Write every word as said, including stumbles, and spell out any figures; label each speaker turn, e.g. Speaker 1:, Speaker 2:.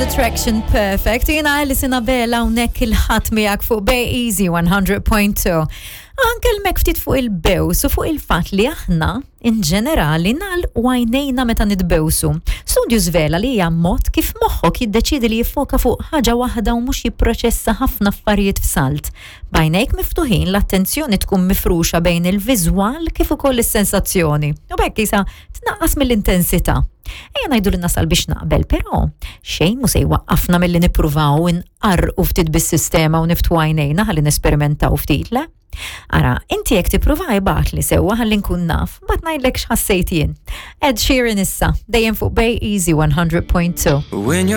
Speaker 1: Attraction Perfect. Jiena Alison Abela hawnhekk il-Ħadd miegħek fuq Bay Easy one hundred point two. Anke l-mek ftit fuq il-bews u fuq il-fat li aħna in ġenerali nagħlqu għajnejna meta nitbewsu. Studju żvela li hija mod kif moħħok jiddeċidi li jiffoka fuq ħaġa waħda u mhux jipproċessa ħafna affarijiet f'salt. B'għajnejk miftuħin, l-attenzjoni tkun mifruxa bejn il-viżwal kif ukoll is-sensazzjoni. U b'hekk isa tnaqqas mill-intensità. Ejja ngħidu li nasal biex naqbel, però xejn mu se jwaqqafna milli nippruvaw inqarqu ftit bis-sistema u niftħu għajnejna ħalli nesperimentaw ftit, le? Ara, inti jekk tippruva, ibgħatli sewwa ħalli nkun naf, mbagħad ngħidlek x'ħassejt jien. Ed Sheeran issa, dejjem fuq Bay Easy one hundred point two.
Speaker 2: When